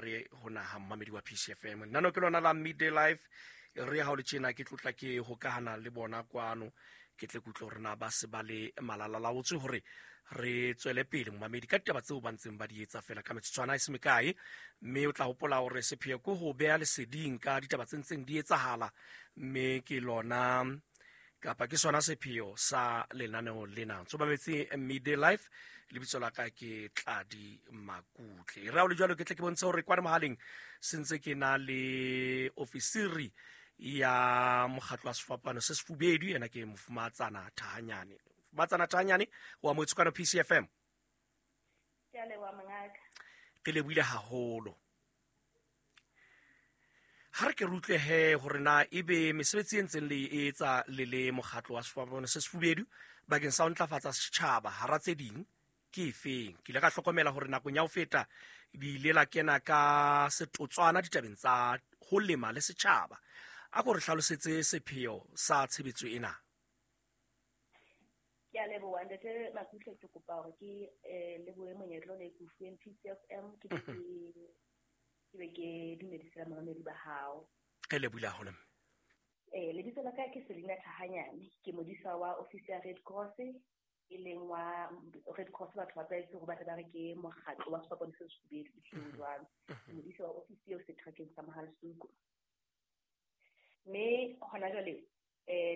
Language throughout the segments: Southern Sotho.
hare ho naha mmamedi wa PCFM. Nano ke lona la Midday Life. Re ha o le tjena ke tlotla ke hokahana le bona kwano, ke tle kutlwe hore na ba se ba le malalalaotswe hore re tswele pele momamedi ka ditaba tseo ba ntseng ba di etsa fela ka metsotswana e se mekae. Mme o tla hopola hore sepheo ke ho beha leseding ka ditaba tse ntseng di etsahala, mme ke lona kapa ke sona sepheo sa lenaneo lena. Ntso mametse Midday Life, lebitso la ka ke Tladi Makutle. Re ha o le jwalo, ke tle ke bontshe hore kwana mohaleng se ntse ke na le ofisiri ya mokgatlo wa sefapano se sefubedu, yena ke Mofumatsana Thahanyane. Mofumatsana Thahanyane wa motse kwano PCFM. Ke a leboha mongaka. Ke lebohile haholo. Ha re ke re utlwe he hore na ebe mesebetsi e ntseng le e etsa le le mokgatlo wa sefapano se sefubedu bakeng sa ho ntlafatsa setjhaba hara tse ding ke efeng. Ke ile ka hlokomela hore nakong ya ho feta di ile la kena ka setotswana ditabeng tsa ho lema le setjhaba. A ko re hlalosetse sepheo sa tshebetso ena. Ke a leboha ntate Makutle, ke kopa hore ke lebohe monyetla o ne ke o fuweng PCFM, ke be ke be ke dumedise bamamedi ba hao. Re lebohile haholo. Lebitso la ka ke Selina Thahanyane, ke modisa wa ofisi ya Red Cross, e leng wa Red Cross batho ba tlwaetse hore ba tle ba re ke mokgatlo wa sefapano se sefubedu, ehlile jwalo. Ke modisa wa ofisi eo seterekeng sa Mohalesuku. Mme hona jwale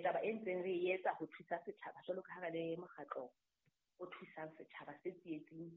taba e ntseng re e etsa ho thusa setjhaba jwalo ka ha re le mokgatlo o thusang setjhaba se tsietsing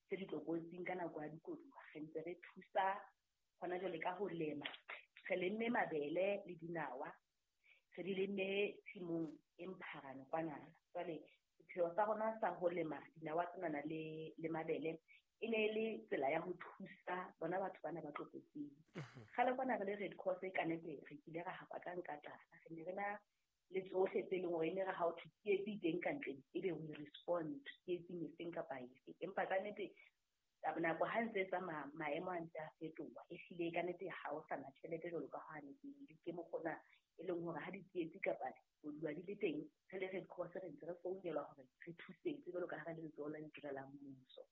se ditlokotsing ka nako ya dikoduwa, re ntse re thusa hona jwale ka ho lema. Re lemme mabele le dinawa, re di lemme tshimong e Mpharane kwanana. Jwale sepheo sa rona sa ho lema dinawa tsenana le mabele e ne e le tsela ya ho thusa bona batho bana ba tlokotsing. Kgale kwana re le Red Cross ka nnete re kile ra hapa ka nka tlala, re ne re na le tsohle tse leng hore e ne re ha o thwe tsietsi teng ka ntle, ebe we respond tsietsing efeng kapa efe. Empa ka nnete nako ha ntse e tsamaya, maemo a ntse a fetoha, ehlile ka nnete ha o sa na tjhelete jwalo ka ha ne pele. Ke mokgona e leng hore ha ditsietsi kapa koduwa di le teng, re le Red Cross re ntse re founelwa hore re thusetse jwalo ka ha re le letsoho la ditirelo la mmuso.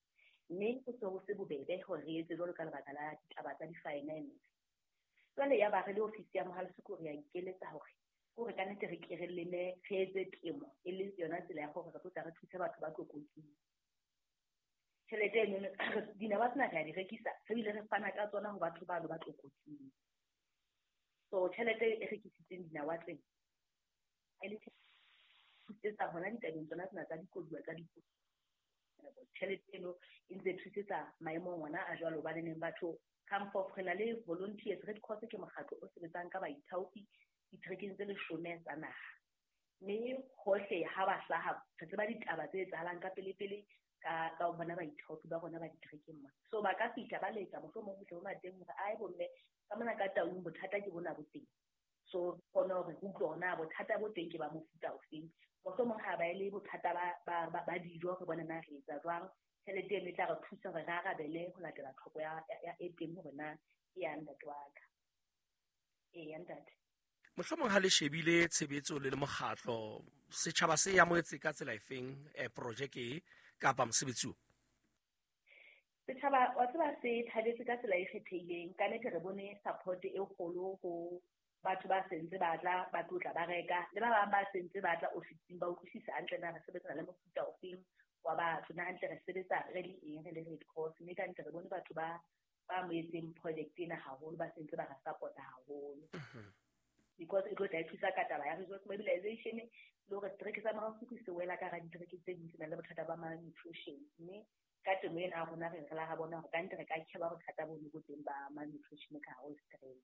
Mme ho se ho se bobebe hore re etse jwalo ka lebaka la ditaba tsa di-finance. Jwale ya ba re le ofisi ya Mohalesuku re a ikeletsa hore kore ka nnete re ke re leme, re etse temo e le yona tsela ya hore re tlo tla re thuse batho ba tlokotsing. Tjhelete eno dinawa tsena re a di rekisa, re bile re fana ka tsona ho batho bano ba tlokotsing. So tjhelete e rekisitseng dinawa tsena e le thusetsa hona ditabeng tsona tsena tsa dikoduwa tsa dikoduwa. Tjhelete eno e ntse e thusetsa maemong ona a jwalo, hobane neng batho come forth, re na le volunteers. Red Cross ke mokgatlo o sebetsang ka baithaopi diterekeng tse 10 tsa naha. Mme hohle ha ba hlaha re tseba ditaba tse etsahalang ka pele-pele ka ho bona baithaopi ba rona ba diterekeng mona. So ba ka fihla ba letsa mohlomong ho tle ho mateng hore ae bomme ka mona ka Taung bothata ke bona bo teng. So kgone hore re utlwe hore na bothata bo teng ke ba mofuta ofeng. Mohlomong ha ba e le bothata ba dijo, re bone na re etsa jwang. Tjhelete eno e tla re thusa hore re arabele ho latela tlhoko ya e teng hore na ke ya ntate wa ka. Ee, ya ntate. Mohlomong ha le shebile tshebetso le le mokgatlo, setjhaba se amohetse ka tsela efeng projeke e kapa mosebetsi o? Setjhaba wa tseba se thabetse ka tsela e kgethehileng. Ka nnete re bone support e kgolo ho batho ba sentse ba tla ba tlotla ba reka, le ba bang ba sentse ba tla ofising ba utlwisisa hantle na re sebetsana le mofuta ofeng wa batho, na hantle re sebetsa re le eng re le Red Cross. Mme ka nnete re bone batho ba amohetseng project ena haholo, ba sentse ba re support-a haholo. Because e tlo tla e thusa ka taba ya resource mobilization le hore setereke sa Mohalesuku se wela ka hara ditereke tse ding tse nang le bothata ba malnutrition. Mme ka temo ena ya rona re la ra bona hore ka nnete re ka kheba bothata bo bo teng ba malnutrition ka hare ho setereke.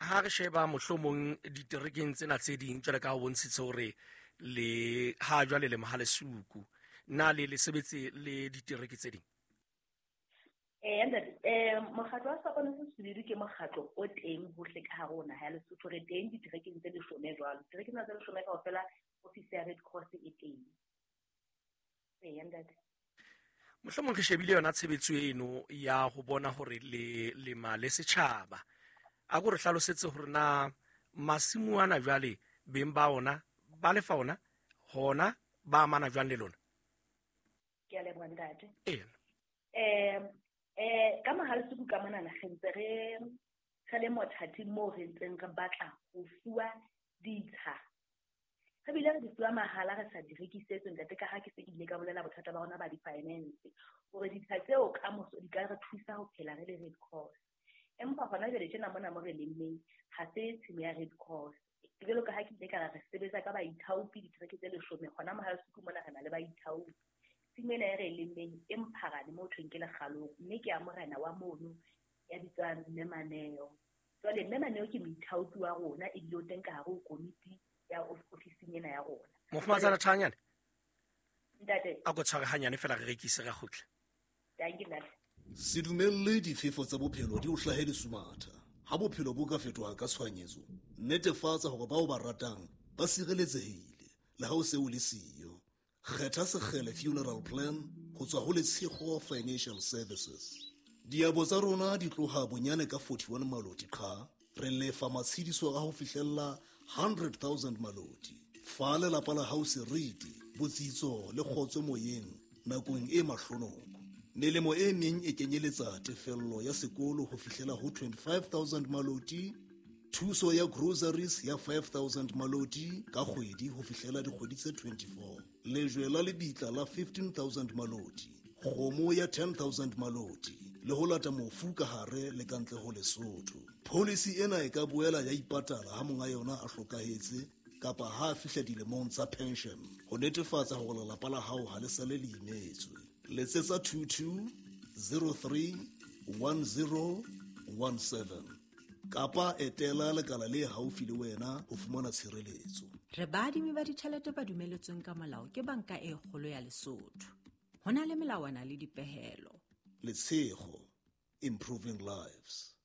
Ha re sheba mohlomong diterekeng tsena tse ding jwale ka ho bontshitse hore le ha jwale le Mohalesuku, na le le sebetse le ditereke tse ding? Ntate, mokgatlo wa Sefapano se Sefubedu ke mokgatlo o teng hohle ka hare ho naha ya Lesotho. Re teng diterekeng tse 10 jwalo. Diterekeng tsena tse 10 kaofela ofisi ya Red Cross e teng. Ntate. Mohlomong re shebile yona tshebetso eno ya ho bona hore le lema le setjhaba. A ko re hlalosetse hore na masimo ana jwale beng ba ona ba lefa ona hona ba amana jwang le lona? Ke a leboha ntate. Ee. Ka Mohalesuku ka monana re ntse re le mothating moo re ntseng re batla ho fuwa ditsha. Re bile re di fuwa mahala, re sa di rekisetse ntate, ka ha ke se ke ile ka bolela bothata ba rona ba di-finance, hore ditsha tseo ka moso di ka re thusa ho phela re le Red Cross. Empa hona jwale tjena mona mo re lemmeng ha se tshimo ya Red Cross. Jwalo ka ha ke ile ka re sebetsa ka baithaopi ditereke tse 10, hona Mohalesuku mona re na le baithaopi. Tshimo ena e re lemmeng e Mpharane mo thweng ke Lekgalong, mme ke ya morena wa mono ya bitswang Mme Maneo. Jwale Mme Maneo ke moithaopi wa rona, ebile o teng ka hare ho komiti ya ofising ena ya rona. Mofumahatsana Thahanyane, ntate, a ko tshware hanyane fela re rekise ra kgutla. Dankie ntate. Se dumelle difefo tsa bophelo di o hlahe lesumatha. Ha bophelo bo ka fetoha ka tshohanyetso, netefatsa hore bao ba ratang ba sireletsehile le ha o se o le siyo. Kgetha Sekgele Funeral Plan ho tswa ho Letshego Financial Services. Diabo tsa rona di tloha bonyane ka 41 maloti qha, re lefa matshediso a ho fihlella 100,000 maloti. Fa lelapa la hao seriti, botsitso le kgotso moyeng nakong e mahlonoko. Melemo e meng e kenyeletsa tefello ya sekolo ho fihlela ho 25,000 maloti, thuso ya groceries ya 5,000 maloti ka kgwedi ho fihlela dikgwedi tse 24, lejwe la lebitla la 15,000 maloti, kgomo ya 10,000 maloti, le ho lata mofu ka hare le ka ntle ho Lesotho. Policy ena e ka boela ya ipatala ha monga yona a hlokahetse kapa ha a fihla dilemong tsa pension, ho netefatsa hore lelapa la hao ha le sale le imetswe. Letsetsa 22 03 10 17 kapa etela lekala le haufi le wena ho fumana tshireletso. Re baadimi ba ditjhelete ba dumeletsweng ka molao ke Banka e Kgolo ya Lesotho. Ho na le melawana le dipehelo. Letshego, improving lives.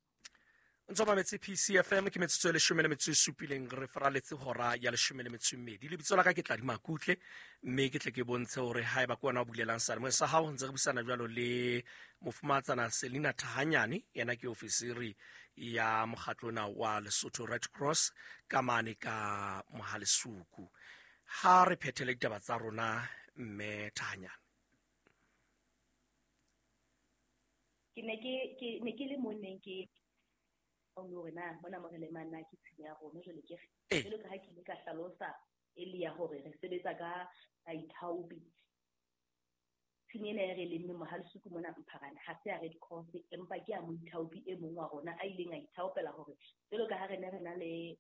Ntse mametse PCFM, ke metsotso e 17 re faraletse hora ya 12. Lebitso la ka ke Tladi Makutle, mme ke tle ke bontshe hore haeba ke wena o bulelang seyalemoya sa hao, ntse re buisana jwalo le mofumahatsana Selina Thahanyane, yena ke ofisiri ya mokgatlo ona wa Lesotho Red Cross ka mane ka Mohalesuku. Ha re phethele ditaba tsa rona, mme Thahanyane. Ke ne ke le monneng ke hore na mona mo re lemang na ke tshimo ya rona, jwale ke re jwalo ka ha ke ile ka hlalosa e le ya hore re sebetsa ka baithaopi. Tshimo ena e re lemmeng Mohalesuku mona Mpharane ha se ya Red Cross, empa ke ya moithaopi e mong wa rona a ileng a ithaopela hore jwalo ka ha re ne re na le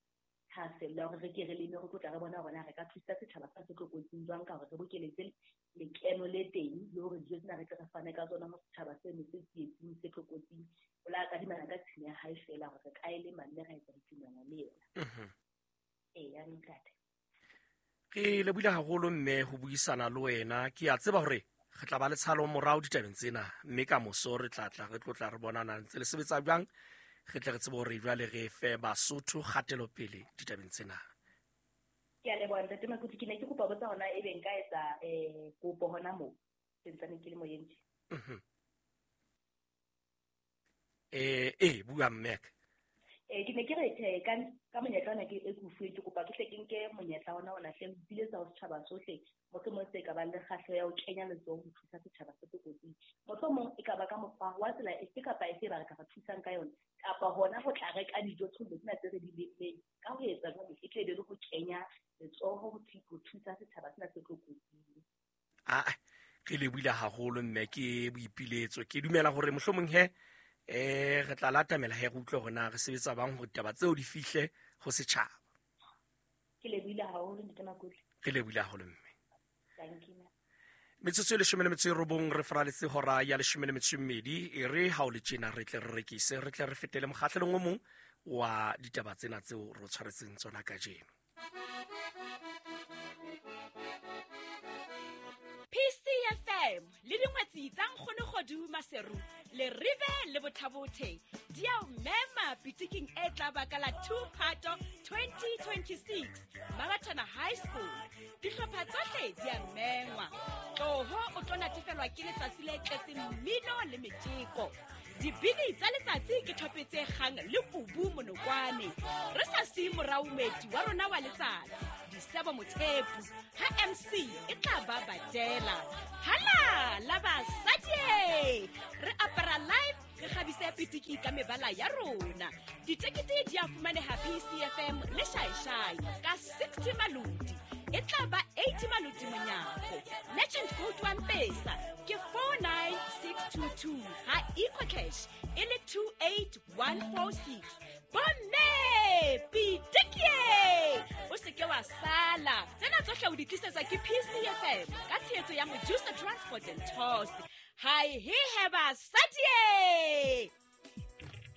thahasello ya hore re ke re leme, re tlo tla re bona hore na re ka thusa setjhaba sa se tlokotsing jwang ka hore re bokeletse lekeno le teng le hore dijo tsena re tle re fane ka tsona ho setjhaba seno se tsietsing se tlokotsing. O la kadimana ka tshimo ya hae feela hore re ka e lema mme ra etsa ditumelo le yena. Eya, ntate. Re lebohile haholo mme ho buisana le wena. Ke a tseba hore re tla ba le tshalo morao ditabeng tsena, mme ka moso re tla tla re tlotla re bonana ntse le sebetsa jwang, re tle re tsebe hore jwale re fe Basotho kgatelopele ditabeng tsena. Ke a leboha ntate Makuti. Ke ne ke kopa botsa hona ebe nka etsa kopo hona moo ke ntsane ke le moyeng tje. Bua Mmek. Ke ne ke re tjhe, ka monyetla ona ke e ke o fuweng, ke kopa ke hle ke nke monyetla ona ona hle ho ipiletsa ho setjhaba sohle, mohlomong se ka bang le kgahleho ya ho kenya letsoho ho thusa setjhaba se tlokotsing. Mohlomong e ka ba ka mokgwa wa tsela efe kapa efe ba re ka ba thusang ka yona, kapa hona ho tla reka dijo thollo tsena tse re di lemmeng. Ka ho etsa jwalo, e tle be le ho kenya letsoho ho thusa setjhaba sena se tlokotsing. Re lebohile haholo mme ke boipiletso. Ke dumela hore mohlomong he re tla latamela he re utlwe hore na re sebetsa bang hore ditaba tseo di fihle ho setjhaba. Ke lebohile haholo ntate Makutle. Re lebohile haholo mme. Thank you. Metsotso e 19 re faraletse hora ya 12. E re ha o le tjena re tle re rekise, re tle re fetele mokgahlelong o mong wa ditaba tsena tseo re tshwaretseng tsona kajeno. PCFM le dingwetsi tsa Nkgono Kgodu Maseru le Rive le Bothabothe di a o mema pitiking e tla ba ka la 2 Phato 2026 Mabatana High School. Dihlopha tsohle di a mengwa. Tloho o tlo natefelwa ke letsatsi le tletseng mmino le metjeko. Dibini tsa letsatsi ke thope tse kgang le kubu monokwane. Re sa siye morao moeti wa rona wa letsatsi, Disebo Mothepu, ha MC e tla ba badela. Hala la basadi! Re apara live, re kgabise pitiki ka mebala ya rona. Ditekete di a fumaneha PCFM le Shaeshai ka 60 maloti. E tla ba 80 maloti monyako. Legend code wa Mpesa ke 49622, ha EcoCash e le 28146. Bomme pitikie, o se ke wa sala. Tsena tsohle o di tlisetswa ke PCFM ka tshehetso ya Mojusa Transport and Tours. Hai he he basadie.